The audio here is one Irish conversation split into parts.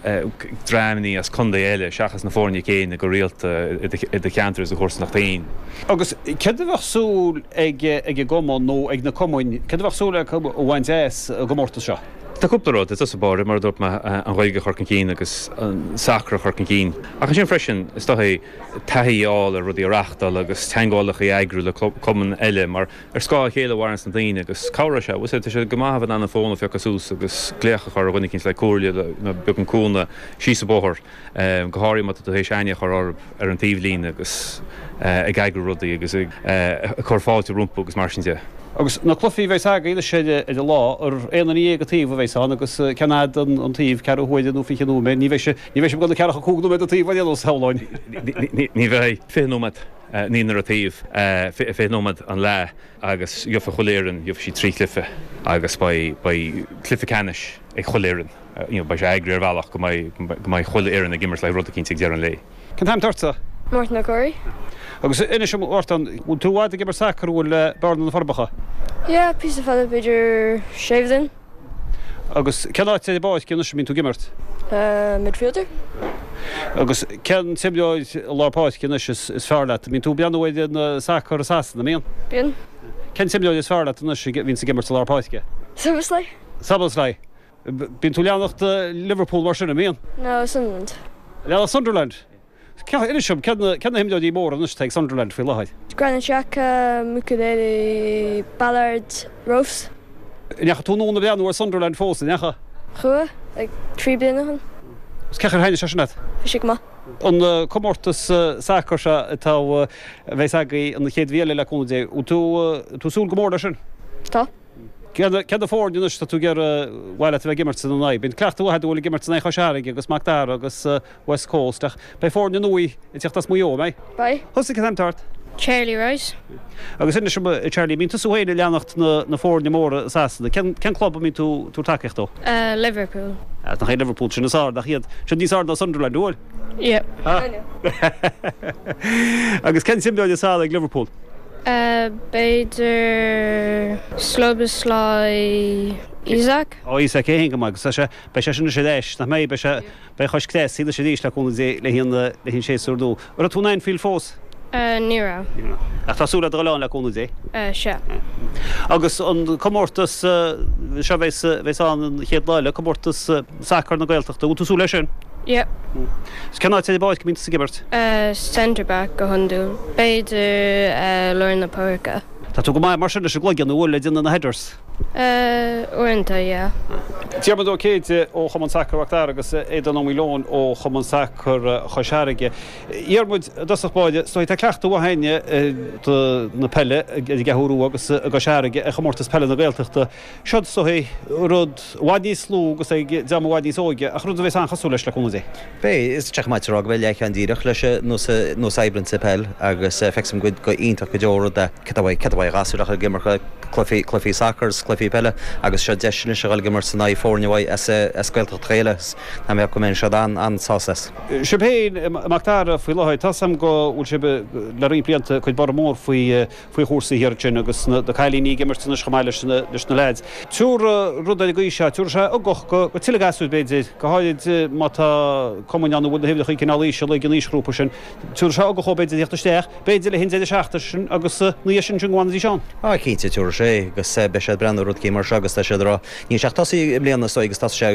Dreamannaí as contae eile seachas na foirne céanna go rialta i do cheantar is do chomharsanacht féin. Agus céard a bheadh súil ag an gcumann nó ag na cumainn, céard a bheadh súil acu a bhaint as an gcomórtas seo? Tá cúpla rud, i dtosach báire, mar a dúirt mé, an Ghaeilge a chur chun cinn agus an sacar a chur chun cinn. Ach ansin freisin, is dóigh, taithí a fháil ar rudaí a reáchtáil agus teagmhálacha a eagrú le cumainn eile mar ar scáth a chéile a mhaireanns na daoine agus cabhróidh sé. Bhfuil a fhios agat, tá sé go maith a bheith in ann an fón a phiocadh suas agus glaoch a chur ar dhuine eicínt le comhairle nó beagán cúnamh síos an bóthar, go háirithe má tá tú théis aithne a chur orthu ar an taobhlíne agus ag eagrú rudaí agus ag cur fáilte rompu agus mar sin de. Agus na cluichí a bheas agaibh anois ar an lá, ar aon duine dhéag an taobh a bheas ann agus cén fhad an taobh, ceathrú huaire nó 20 nóiméad, ní bheidh sé, ní bheidh sibh ag dul ceathracha 5 nóiméad an taobh ar aon nós, shamhlóinn. Ní bheidh. 20 nóiméad. Naonúr an taobh, 20 nóiméad an leath agus gheobhaidh chuile fhoireann, gheobhaidh siad trí chluiche agus beidh, beidh cluiche ceannais ag chuile fhoireann. You know, beidh sé eagraithe ar bhealach go mbeidh, go mbeidh chuile fhoireann ag imirt le rud eicínt ag deireadh an lae. Cén t-ainm atá ortsa? Mártan Ó Comhraí. Agus inis dom, a Mhártain, bhfuil tú i bhfad ag imirt sacair, an bhfuil, le Bearna na Forbacha? Yeah, píosa fada, b'fhéidir sé bhliain. Agus cén áit ar an bpáirc anois a mbíonn tú ag imirt? Midfielder. Agus cén t-imreoir i lár páirce anois is fearr leat? Bíonn tú ag breathnú ar an sacar i Sasana, an mbíonn? Bíonn. Cén t-imreoir is fearr leat anois a bhíonns ag imirt i lár páirce? Szoboszlai. Szoboszlai. Bíonn tú ag leanacht Liverpool mar sin, an mbíonn? No, Sunderland. Leanacht Sunderland? Inis dom, cé na himreoirí móra anois atá ag Sunderland faoi láthair? Granit Xhaka, Mukiele, Ballard, Roefs. An ndeachaigh tú anonn ag breathnú ar Sunderland fós, an ndeachaigh? Chuaigh, like 3 bliana ó shin. Agus cén chaoi ar thaitnigh sé sin leat? Bhí sé go maith. An comórtas sacair seo atá, a bheas agaibh an chéad mhí eile le cúnamh Dé, bhfuil tú, tú ag súil go mór leis sin? Tá. Cé na foirne anois atá tú ag iarraidh, ar mhaith leat a bheith ag imirt ina n-aghaidh? Bíonn cleachtadh mhaith agat a dhul ag imirt in aghaidh Chois Fharraige agus Mac Dara agus West Coast ach beidh foirne nua ag teacht as Maigh Eo, an mbeidh? Beidh. Thusa, cén t-ainm atá ort? Charlie Wright. Agus inis dom, a Charlie, mbíonn tusa féin ag leanacht na foirne móra i Sasana. Cén cén club a mbíonn tú tabhairt tacaíocht dó? Liverpool. Nach é Liverpool sin is fearr, nach iad? Siad níos fearr ná Sunderland, an bhfuil? Yeah. Agus cén t-imreoir is fearr ag Liverpool? B'fhéidir Szoboszlai Isak? Ó Isak é féin go maith agus tá sé, beidh sé sin anois ar ais, nach mbeidh? Beidh sé, beidh cois cleas anois arís le cúnamh Dé le haghaidh an, le haghaidh an séasúr nua. An raibh tú in Anfield fós? Ní raibh. Ní raibh. Ach tá súil agat a dhul ann le cúnamh Dé? Sea. Agus an comórtas seo a bheas, a bheas ann an chéad lá eile, comórtas sacair na Gaeltachta, bhfuil tú ag súil leis sin? Yeah. Is cén áit ar an bpáirc a mbíonn tusa ag imirt? Centre back go hiondúil. B'fhéidir lár na páirce. Tá tú go maith mar sin leis an gcloigeann, an bhfuil, ag déanamh na headers? Uaireanta, yeah. Diarmuid Ó Céide ó Chumann Sacair Mhac Dara agus Aodán Ó Maoileoin ó Chumann Sacair Chois Fharraige. A Dhiarmuid, i dtosach báire, is dóigh tá cleachtadh mhaith againne do na peile ar an gCeathrú Rua agus i gCois Fharraige ar chomórtas peile na Gaeltachta. Seo is dóigh rud i bhfad níos lú agus ag dream i bhfad níos óige, ach rud a bheas an-chosúil leis, le cúnamh Dé. Beidh, is tá sé chomh maith a rá go mbeidh leathcheann díreach leis an nós nós a oibríonn sa peil agus feicfidh muid go iontach go deo rud é. Cad é cad é uaidh ghasúir ach ag imirt cluichí cluichí sacair is cluichí peile agus seo deis anois a dhul ag imirt in aghaidh foirne uaidh as as Gaeltacht Ghaeilge is tá mé ag ceapadh go mbeidh siad an-an-sásta as. Sibh féin i Mac Dara faoi láthair, tá 's a'm go bhfuil sibh le roinnt blianta ag cur borradh mór faoi faoi chúrsaí thiar ansin agus na cailíní ag imirt anois chomh maith leis na leis na leaids. Tabharfaidh rud ar an gcaoi seo, tabharfaidh sé ugach go go tuilleadh gasúir b'fhéidir, go háirid má tá cumainn ann a bhfuil na huimhreacha cineál íseal ag an aoisghrúpa sin. Tabharfaidh sé ugach dhóibh b'fhéidir a theacht isteach, b'fhéidir le haghaidh an deireadh seachtaine sin agus na dhiaidh sin sin go bhfanfaidís ann. Á cinnte tabharfaidh sé agus beidh siad ag breathnú ar rud eicínt mar seo agus tá siad ag rá níl sé ach tosaithe i mbliana is dóigh agus tá sé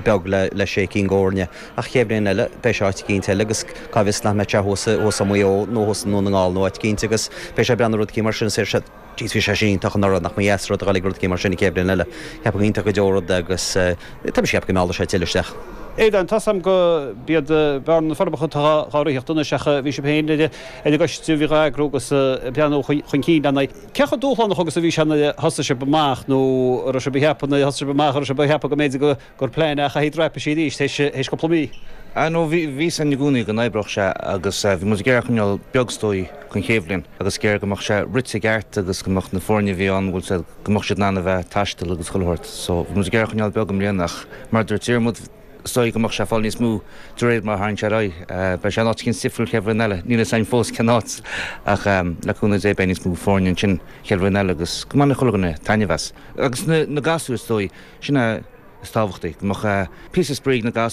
beag le le sé cinn d'fhoirne Ach chéad bhliain eile, beidh sé áit eicínt eile agus cá bhfios nach mbeidh sé thuas, thuas i Maigh Eo nó thuas i nDún na nGall nó áit eicínt agus beidh sé ag breathnú ar rud eicínt mar sin is deir siad, Jeez, bhí sé sin iontach anuraidh, nach mba dheas rud a dhul ag rud eicínt mar sin an chéad bhliain eile. Ceapaim gur iontach go deo rud é agus tá mise ag ceapadh go meallfaidh sé tuilleadh isteach. Aodán, tá 's a'm go b'iad Bearna na Forbacha atá dhá ritheacht anois ach bhí sibh féin ar an gcoiste a bhí dhá eagrú agus ag breathnú chun cinn lena Cé chomh dúshlánach agus a bhí sé nuair a thosaigh sibh amach nó an raibh sibh ag ceapadh nuair a thosaigh sibh amach an raibh sibh ag ceapadh go mb'fhéidir go gur plean é a chaithfidh dreapadh siar arís théis cúpla mí. Ah no, bhí fhios againn i gcónaí go n-oibreodh sé agus bhí muid ag iarraidh coinneáil beag is dóigh don chéad bhliain agus ag iarraidh go mbeadh sé rite i gceart agus go mbeadh na foirne a bhí ann, bhfuil 's a'd, go mbeadh siad in ann a bheith ag taisteal agus chuile shórt. So bhí muid ag iarraidh coinneáil beag i mbliana ach mar a dúirt Diarmuid, is dóigh go mbeadh sé ag fáil níos mó de réir mar a tharraing sé ar aghaidh. Beidh sé in áit eicínt difriúil chéad bhliain eile, níl fhios againn fós cén áit ach le cúnamh Dé beidh níos mó foirne ansin chéad bhliain eile agus go mbainfidh chuile dhuine taitneamh as. Agus na gasúir is dóigh, sin é. is tábhachtaí, go mbeadh píosa spraoi ag na gasúir.